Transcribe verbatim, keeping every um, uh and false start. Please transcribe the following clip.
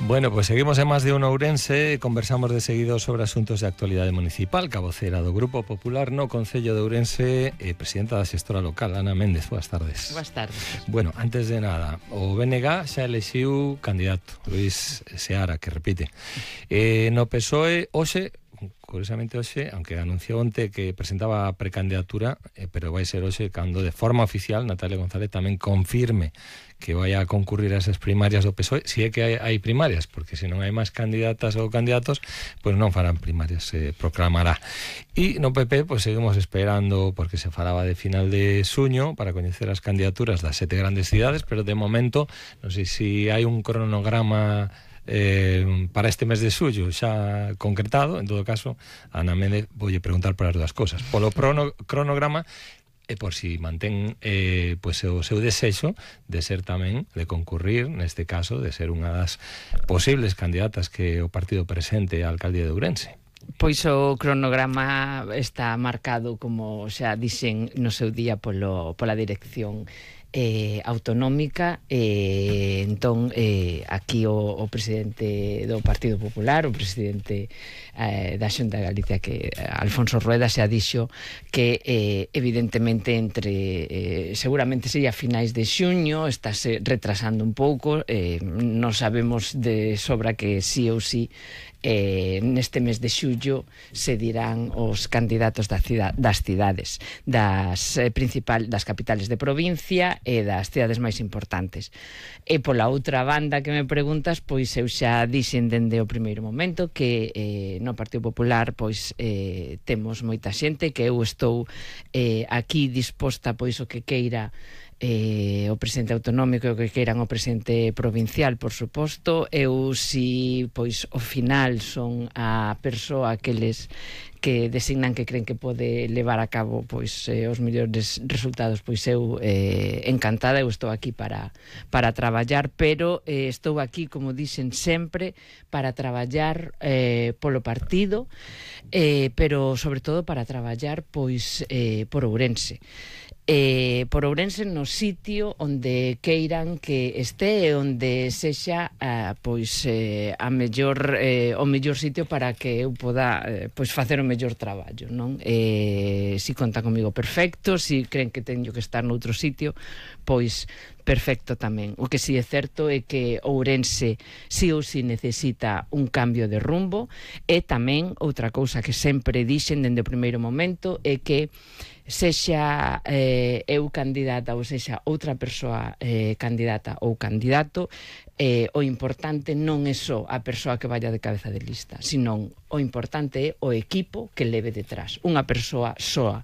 Bueno, pues seguimos en Más de Uno Ourense. Conversamos de seguido sobre asuntos de actualidade municipal. Cabocera do Grupo Popular no Concello de Ourense, eh, presidenta da xestora local, Ana Méndez. Boas tardes. Boas tardes. Bueno, antes de nada, o B N G xa elixiu candidato, Luís Seara, que repite. Eh, no P S O E, hoxe, curiosamente hoxe, aunque anunciou onte que presentaba a precandidatura, eh, pero vai ser hoxe cando de forma oficial Natalia González tamén confirme que vai a concurrir a esas primarias do P S O E, si é que hai, hai primarias, porque se non hai máis candidatas ou candidatos, pois non farán primarias, se proclamará. E no P P, pois seguimos esperando, porque se falaba de final de suño, para coñecer as candidaturas das sete grandes cidades, pero de momento, non sei se hai un cronograma eh, para este mes de xullo xa concretado. En todo caso, a Ana Méndez voulle preguntar por as dúas cosas. Polo prono, cronograma, e por si mantén eh, pues, o seu desexo de ser tamén, de concurrir, neste caso, de ser unha das posibles candidatas que o partido presente á alcaldía de Ourense. Pois o cronograma está marcado, como xa dixen no seu día, polo, pola dirección eh, autonómica. eh, entón eh, aquí o, o presidente do Partido Popular, o presidente eh, da Xunta de Galicia, que Alfonso Rueda, xa dixo que eh, evidentemente entre eh, seguramente sería finais de xuño, estáse retrasando un pouco, eh, non sabemos de sobra que sí ou sí Eh, neste mes de xullo se dirán os candidatos da cida, das cidades das eh, principal das capitales de provincia e das cidades máis importantes. E pola outra banda que me preguntas, pois eu xa dixen dende o primeiro momento que eh, no Partido Popular pois eh, temos moita xente, que eu estou eh, aquí disposta pois o que queira Eh, o presidente autonómico e o que queiran o presidente provincial, por suposto. Eu, si pois ao final son a persoa aqueles que designan que creen que pode levar a cabo pois eh, os mellores resultados, pois eu eh, encantada, eu estou aquí para para traballar, pero eh, estou aquí, como dixen sempre, para traballar eh, polo partido, eh, pero sobre todo para traballar pois eh, por Ourense. Eh, por Ourense, no sitio onde queiran que este e onde sexa eh, pois eh, a mellor eh, o mellor sitio para que eu poda eh, pois facer o mellor traballo, non? Eh, si conta comigo, perfecto. Si creen que teño que estar noutro sitio, pois perfecto tamén. O que si é certo é que Ourense si ou si necesita un cambio de rumbo, e tamén outra cousa que sempre dixen dende o primeiro momento é que sexa eh, eu candidata ou sexa outra persoa eh, candidata ou candidato, eh, o importante non é só a persoa que vaya de cabeza de lista, senón o importante é o equipo que leve detrás. Unha persoa soa